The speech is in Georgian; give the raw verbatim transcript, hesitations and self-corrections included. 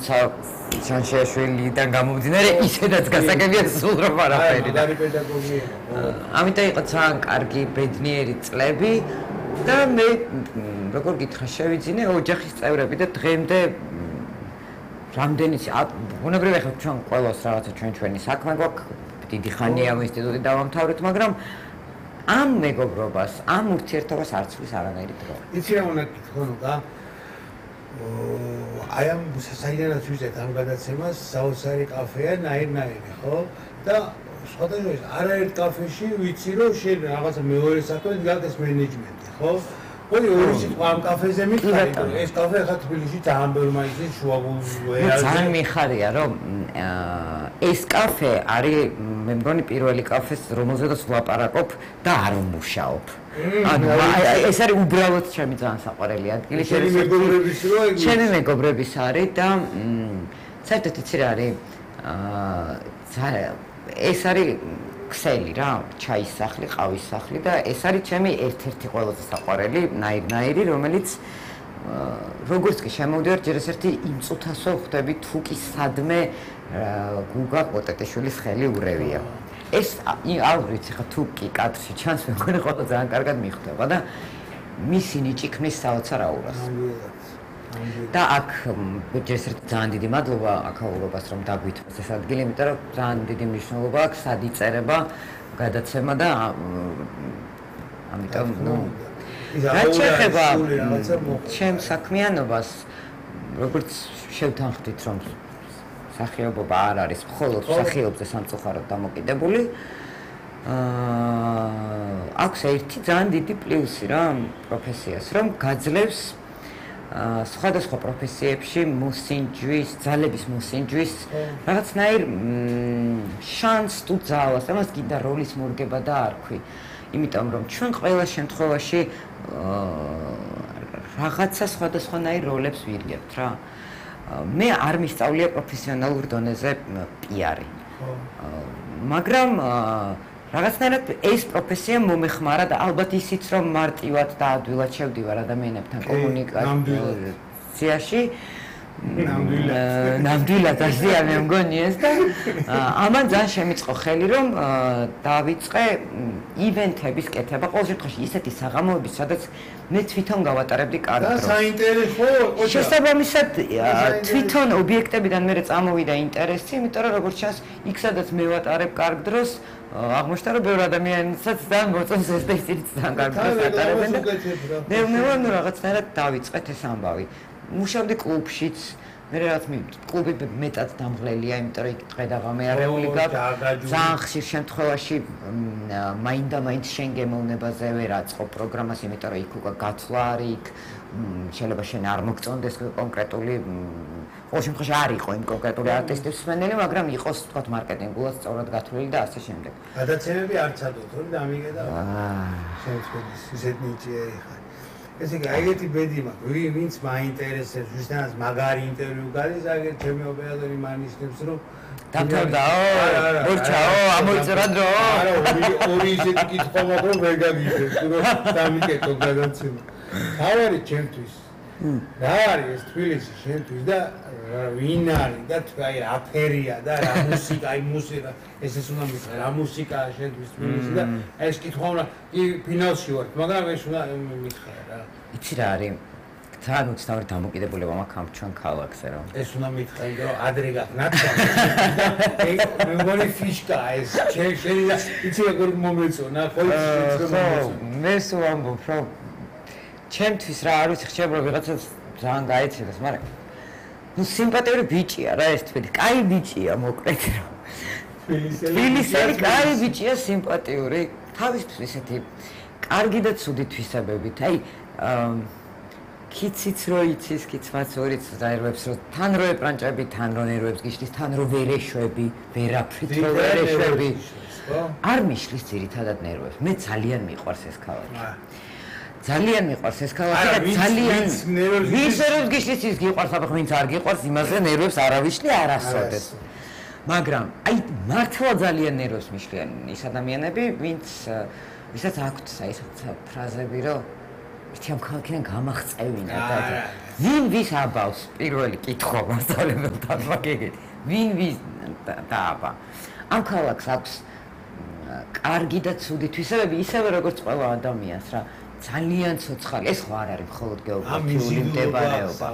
თუმცა ჩანშიაშვილიდან გამომდინარე ისედაც გასაგებია სულ რომ არაფერი და ამიტომ იყო ძალიან კარგი ბედნიერი წლები და მე როგორ გითხრა შევიძინე ოჯახის წევრები და დღემდე რამდენიც ბუნებრივია ხო ჩვენ ყველას რაღაცა ჩვენ ჩვენი საქმე გვაქვს დიდი ხანია ამ ინსტიტუტი დავამთავრეთ მაგრამ ამ მეგობრობას ამ ურთიერთობას არ ცვლის არანაირი დრო. იცი რა უნდა გითხო და აი ამ საიდანაც ვიზეთ ამ გადაცემას საოცარი კაფეა ნაირ-ნაირი ხო და სხვადასხვა არაერთ კაფეში ვიცი რომ შენ რაღაცა მეორე საქმე დგას მენეჯმენტი ხო ორი ორი სიტყვა ამ კაფეზე მითხარი რომ ეს კაფე ხა თბილისში ძალიან ბევრი მაინც შუაგულზე ძალიან მიხარია რომ ეს კაფე არის მე მგონი პირველი კაფეს რომელზედაც ვლაპარაკობ და არ ვმუშაობ ანუ ეს არის უბრალოდ ჩემი ძალიან საყვარელი ადგილი ჩემი მეგობრების რო ჩემი მეგობრების არის და საერთოდ იცი რა არის ეს არის ქსელი რა, ჩაის სახლი, ყავის სახლი და ეს არის ჩემი ერთ-ერთი ყველაზე საყვარელი ნაირ-ნაირი, რომელიც როგორც კი შემოვდივარ, ჯერ ერთი იმ წუთასო ხვდები თუ კი სადმე გუგა ყოტეტიშვილის ხელი ურევია. ეს არ ვიცი ხა თუ კი კადრში ჩანს, მე მგონი ყველა ძალიან კარგად მიხვდება და მისი ნიჭი ქმნის საოცარ აურას. და აქ ჯერ ერთი ძალიან დიდი მადლობა აქაურობას რომ დაგვითმოს ეს ადგილი, იმიტომ რომ ძალიან დიდი მნიშვნელობა აქვს სად იწერება გადაცემა და ამიტომ ნუ რა შეეხება ჩემ საქმიანობას როგორც შევთანხმდით რომ სახიობობა არ არის მხოლოდ სახიობზე სამწუხაროდ დამოკიდებული აა აქვს ერთი ძალიან დიდი პლუსი რა პროფესიას რომ გაძლევს სხვადასხვა პროფესიებში მოსინჯვის, ძალების მოსინჯვის რაღაცნაირ შანსს თუ ძალას, ამას კიდე როლის მორგება და არქვი. იმიტომ რომ ჩვენ ყველა შემთხვევაში რაღაცა სხვადასხვანაირ როლებს ვირგებთ რა. მე არ მისწავლია პროფესიონალურ დონეზე პიარი. მაგრამ რაღაცნაირად ეს პროფესია მომეხმარა და ალბათ ისიც რომ მარტივად და ადვილად შევდივარ ადამიანებთან კომუნიკაციაში ნამდვილად ასეა მე მგონი ეს და ამან ძალიან შემიწყო ხელი რომ დავიწყე ივენთების კეთება ყოველ შემთხვევაში ისეთი საღამოების სადაც მე თვითონ გავატარებდი კარგ დროს. და საინტერესო ოჯახი. შესაბამისად თვითონ ობიექტებიდან მე წამოვიდა ინტერესი, იმიტომ რომ როგორც ჩანს, იქ სადაც მე ვატარებ კარგ დროს აღმოჩნდა რომ ბევრი ადამიანსაც და მოწონს ეს და ისიც ძალიან კარგ დროს ატარებენ და მე მე ნუ რაღაცნაირად დავიწყეთ ეს ამბავი. მუშავდი კლუბშიც, მე რაღაც კლუბი მეტად დამღლელია, იმიტომ რომ იქ დღე და ღამე არეული გაქვს. ძალიან ხშირ შემთხვევაში მაინდა მაინც შენ გემოვნებაზე ვერ აწყობ პროგრამას, იმიტომ რომ იქ უკვე გათვლა არის, იქ შეიძლება შენ არ მოგწონდეს კონკრეტული ყოველ შემთხვევაში არ იყო იმ კონკრეტული არტისტის მსმენელი, მაგრამ იყოს თქვათ მარკეტინგულად სწორად გათვლილი და ასე შემდეგ. გადაცემები არ ცადოთ, რომ დამიგე და შემოწმების ისეთ ნიჭია ეხა. ესე იგი, აიგეთი ბედი მაქვს, ვინც მაინტერესებს, ვისთანაც მაგარი ინტერვიუ გადის, აგერ ჩემი ოპერატორი მანიშნებს, რომ დამთავრდაო, მორჩაო, ამოიწერა დრო. არა, ორი ისეთი კითხვა მაქვს, რომ ვერ გაგიშვებს, რომ დამიკეთო გადაცემა. თავარი ჩემთვის. რა არის ეს თბილისი შენთვის და ვინ არის და აი რა ფერია და რა მუსიკა, აი მუსიკა, ეს ეს უნდა მითხრა, რა მუსიკაა შენთვის თბილისი და ეს კითხვა უნდა კი ფინალში ვარ, მაგრამ ეს უნდა მითხრა რა. იცი რა არის? ძალიან უცნაური დამოკიდებულება მაქვს ამ ჩვენ ქალაქზე რომ. ეს უნდა მითხრა, იმიტომ რომ ადრე გახნაცა. მე მგონი ფიშკაა ეს. შენ შენ იცი როგორ მომეწონა, ხო? მე სულ ამბობ რომ ჩემთვის რა არ ვიცი ხშირად ვიღაცას ძალიან გაეცეს, მაგრამ ნუ სიმპათიური ბიჭია რა ეს თვით. კაი ბიჭია მოკლედ რომ. თბილისელი კაი ბიჭია სიმპათიური. თავისთვის ესეთი კარგი და ცუდი თვისებებით. აი კიციც რო იცის, კიცმაც რო იცის, დაერვებს რომ თან რო ეპრანჭები, თან რო ნერვებს გიშლის, თან რო ვერ ეშვები, ვერაფრით რო ვერ ეშვები. არ მიშლის ძირითადად ნერვებს. მე ძალიან მიყვარს ეს ქალაქი. ძალიან მიყვარს ეს ქალაქი და ძალიან ვის ნერვებს გიშლის ის გიყვარს, აბა ვინც არ გიყვარს, იმაზე ნერვებს არავიშლი არასოდეს. მაგრამ აი მართლა ძალიან ნერვებს მიშლიან ის ადამიანები, ვინც ვისაც აქვთ აი ეს ფრაზები, რომ ერთი ამ ქალაქიდან გამახწევინა და ვინ ვის აბავს პირველი კითხვა მასწავლებელთან მაგეგეთ ვინ ვის დააბა ამ ქალაქს აქვს კარგი და ცუდი თვისებები ისევე როგორც ყველა ადამიანს რა ძალიან ცოცხალი ეს ხო არ არის მხოლოდ გეოგრაფიული მდებარეობა